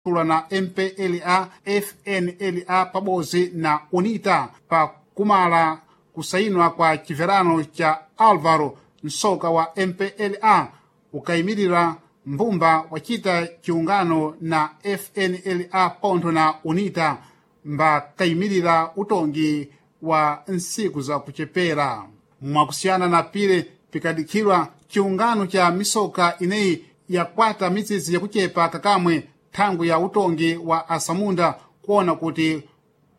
Kulwa na MPLA FNLA pabodzi na UNITA pa kumala kusayinwa kwa chimverano cha Álvaro Nsoka wa MPLA ukayimirira mbumba wacita chiungano na FNLA pontho na UNITA mbakayimirira utongi wa ntsiku za kuchepera. Mwakusiyana na pile pikadikhirwa chiungano cha misoka ineyi yakwata mitsitsi yakuchepa kakamwe thangwi ya utongi wa asamunda kuona kuti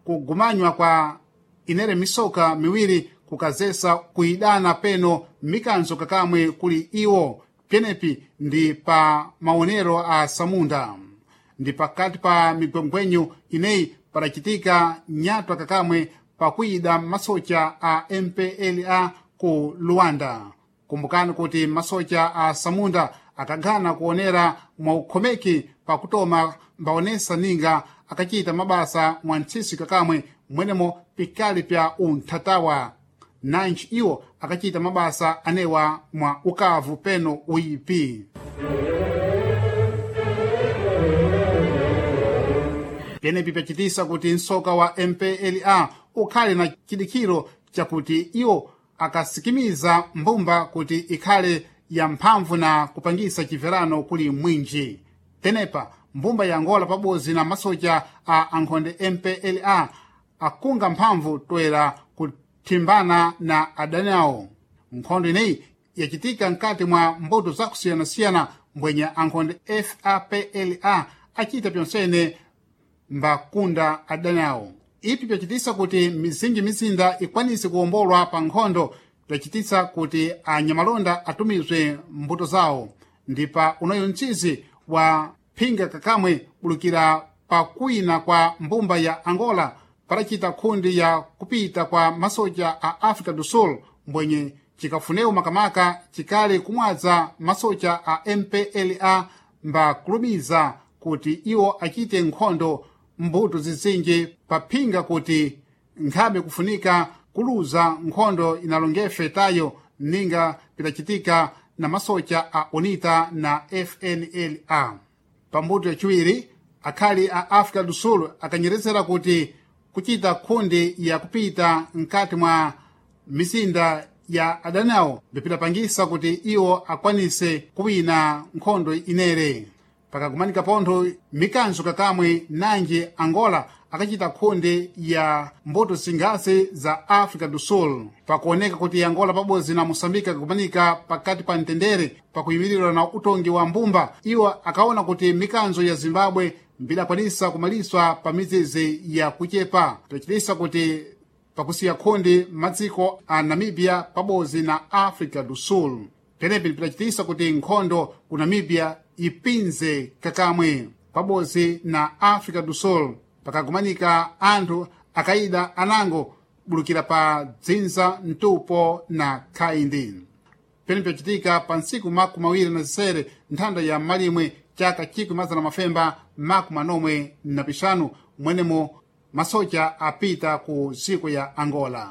kugumanywa kwa inere misoka miwiri kukazesa kuyidana peno mikanzo kakamwe kuli iwo pyenepi ndi pa maonero a samunda. Ndi pakati pa migwengwenyu ineyi padacitika nyatwa kakamwe pakuyida masocha a MPLA ku Luanda. Kumbukani kuti masocha a samunda akagana kuonera mwaukhomeki pakutoma mbaonesa ninga akachita mabasa mwa ntsisi kakamwe mwenemo pikali pya unthatawa nanji iwo akachita mabasa anewa mwa ukavu peno uyipi. Pyenepi pyacitisa kuti msoka wa MPLA ukhale na chidikhiro chakuti iwo akasikimiza mbumba kuti ikhale ya mphamvu na kupangisa chimverano kuli mwinji. Tenepa mbumba ya Angola pabodzi na masocha a ankhonde MPLA akunga mphamvu toera kuthimbana na adani awo. Nkhondo ineyi yacitika mkati mwa mbuto zakusiyanasiyana mbwenye ankhonde FAPLA acita pyonsene mbakunda adani awo. Ipi pyacitisa kuti mizinji mizinda ikwanise kuwombolwa pa nkhondo pyacitisa kuti anyamalonda atumizwe mbuto zawo. Ndi pa unoyo mtsizi wa phinga kakamwe bulukira pa kuwina kwa mbumba ya Angola padacita khundi ya kupita kwa masocha a África do Sul mbwenye cikafunewo makamaka cikali kumwadza masocha a MPLA mbakulumiza kuti iwo acite nkhondo mbuto zizinji paphinga kuti nkhabe kufunika kuluza nkhondo inalongefe tayo ninga pidacitika na masocha a UNITA na FNLA. Pambuto yaciwiri akhali a África do Sul akanyerezera kuti kucita khundi ya kupita mkati mwa mizinda ya adani awo bipidapangisa kuti iwo akwanise kuwina nkhondo inere. Pakagumanika pontho mikanzo kakamwe nanji Angola akacita khundi ya mbuto zingasi za África do Sul. Pakuoneka kuti Angola pabodzi na Moçambique akagumanika pakati pa mtendere pakuyimirirwa na utongi wa mbumba, iwo akaona kuti mikanzo ya Zimbabwe mbidakwanisa kumaliswa pa mizizi ya kuchepa, pyacitisa kuti pakusiya khundi madziko a Namibia pabodzi na África do Sul. Penepi pidacitisa kuti nkhondo ku Namibia ipinze kakamwe pabodzi na África do Sul. Pakagumanika anthu akayida anango bulukira pa dzinza mtupo na khaindi. Pene pyacitika pa ntsiku 26 nthanda ya malimwe chaka 1945 mwenemo masocha apita ku dziko ya Angola.